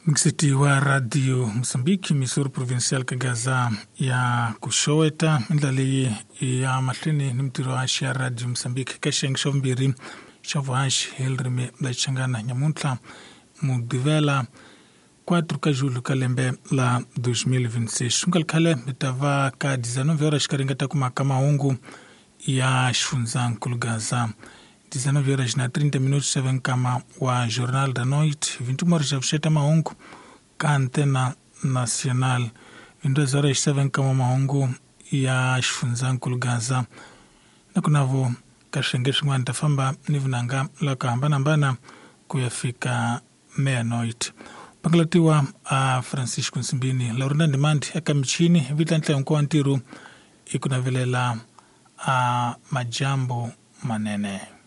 Mixiti wa Radio Mozambique, Missouri Provincial ka Gaza ya ku xoweta ndlela leyi ya mahlweni ni mintirho haxi ya Radio Mozambique ka xiyenge xa vumbirhi xa vuhaxi hi ririmi la Xichangana nyamuntlha Mugqivela 4 ka julho ka lembe la 2026. Swi nga ri khale mi ta va ka 19 horas xikarhi nga ta kuma ka mahungu ya xifundzankulu Gaza. 19 horas na 30 minutos xa nkama wa Jornal da Noite, 21 horas xa vuxeta mahungu ka Antena Nacional, 22 horas xa nkama mahungu ya xifundzankulu Gaza. Na ku navo ka swiyenge swin'wana ta famba ni vunanga la ku hambanahambana ku ya fika meia-noite. Pangalatiwa a Francisco Nsimbini, Laurinda Ndimandi eka michini, vitla nhlayo hinkwawo ntirho i ku navelela a majambu manene.